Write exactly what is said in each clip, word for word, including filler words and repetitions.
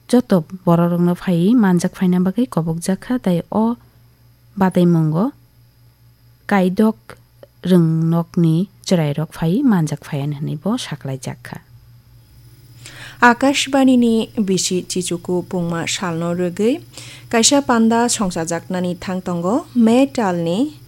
joto bororokno phaiwi manjak phaina bagwi kobokjak kha, tei o bataimungo kaidok rwngnokni chwrairok phaiwi manjak phaiya hwnwi bo saklaijak kha. Akashbanini bisi Chichuku pungma salno rwgwi kaisa panda songchajaknani thang tongo. May talni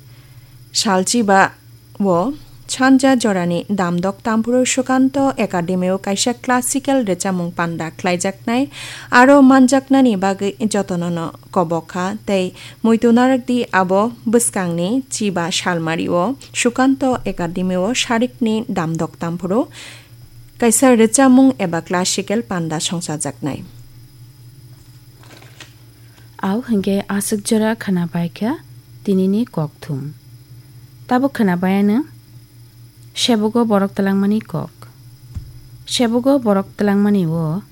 salchiba o sanja jorani damdok tamphuru Sukanto Academy o kaisa classical rwchapmung panda khlaijaknai, aro manjaknani bagwi jotonono kobok kha tei muitu narwkdi abo bwskangni chiba salmari o Sukanto Academy o sarikni damdok tamphuru kaisa rwchapmung eba classical panda songchajaknai. Au hwnkhe aswk jora khwna bai kha tinini kokthum. Tabuk khwna bai ano sebogo borok twlangmani kok. Sebogo borok twlangmani o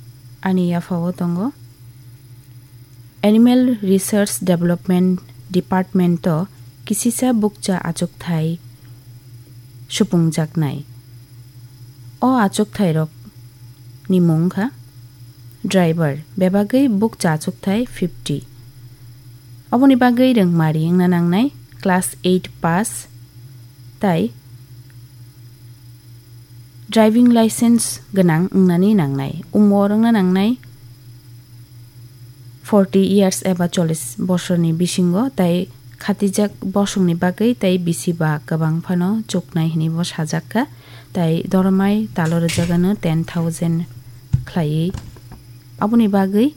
ani yaphao tongo Animal Research Development Department o kisisa bukcha achukthai supungjaknai. O achukthai rok ni mung kha driver, bebagwi bukcha achukthai fifty. Oboni bagwi rwngmari wngna nangnai class eight pass tai driving license gwnang wngnani nangnai, umor wngna nangnai forty years eba chollish bosorni bisingo, tai khatijak bosongni bagwi tai bisi ba kwbang phano chuknai hwnwi bo sajak kha. Tai doromai talo rwjagano ten thousand khlaiwi. Aboni bagwi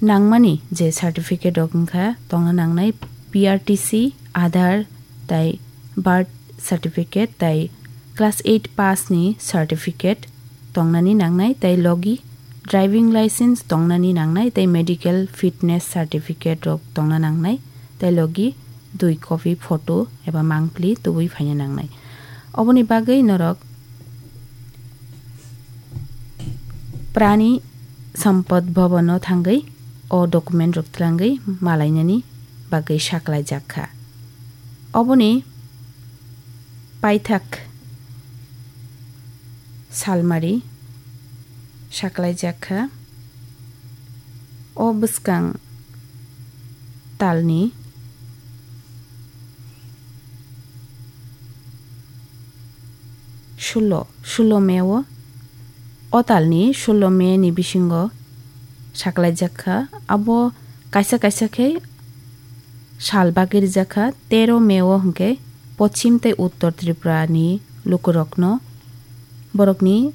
nangmani je certificate rok wngkha tongna nangnai P R T C, Aadhaar, tai birth certificate, tai class eight pass ni certificate tongnani nangnai, tai logi driving license tongnani nangnai, tai medical fitness certificate rok tongna nangnai, tai logi dui copy photo eba mangpli tubui phaina nangnai. Oboni bagwi norok Prani Sampad Bhavan o thangwi o document rok twlangwi malainani bagwi saklaijak kha. Oboni paithak salmari saklaijak kha. O bwskang talni sulo, sulo May o, o talni sulo May ni bisingo saklaijak kha. Abo kaisa kaisa khe sal bagwi rijak kha, tero May o hwnkhe Pochim tei Uttor Tripura ni lukurokno borokni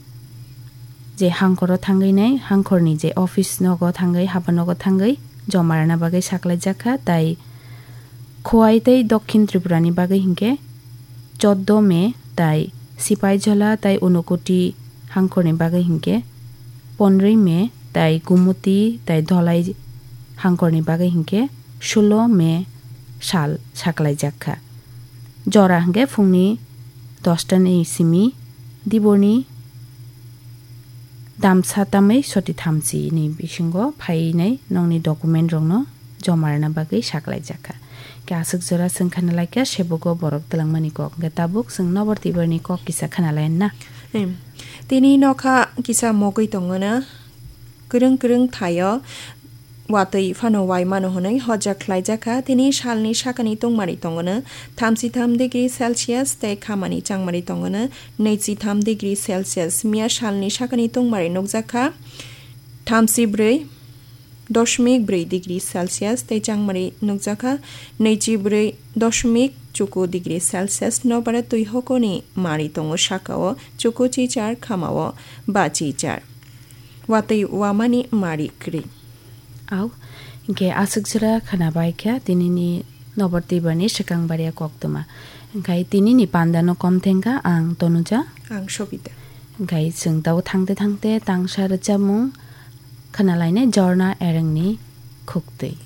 je hangkoro thangwi nai, hangkorni je office nogo thangwi, haba nogo thangwi joma rwna bagwi saklaijak kha, tai Khowai tei Dokhin Tripura ni bagwi hinkhe choddo May, tai Sipaijala tai Unakoti hangkorni bagwi hinkhe pondroi May, tai Gumuti tai Dholai hangkorni bagwi hinkhe sulo May sal saklaijak kha. Jora hwnkhe phungni dosta ni simi diborni damsa tamwi soti thamchi ni bisingo phainai nokni document rokno joma rwna bagwi saklaijak kha. Khe aswk jora chwng khana lai kha sebogo borok twlangmani kok. Hwnkhe tabuk chwng nobor tibar ni kok kisa khana lai na. Em, tini nokha kisa mogwi tongo na. Kwrwng kwrwng thaio watwi phano wai mano hwnwi hojak khlaijak kha. Tini salni sakani tungmari tongo na thamchi tham degree Celsius tei khamani changmari tongo na naichi tham degree Celsius. Miya salni sakani tungmari nukjak kha thamchi bwrwi doshmik bwrwi degree Celsius tei changmari nukjak kha naichi bwrwi doshmik chuku degree Celsius. Nobara twi hokoni mari tongo, sakao chuku chichar, khamao ba chichar. Watwi wamani mari kwrwi. Au, hwnkhe aswk jora khana bai kha tinini nobor tibar ni swkang baria koktwma. Hwnkhe tinini panda no kom thengkha ang Tonuja. Ang Sobita. Hwnkhe chwng tao thangte thangte tangsa rwchapmung khana lainai Jorna Ereng ni khuktwi.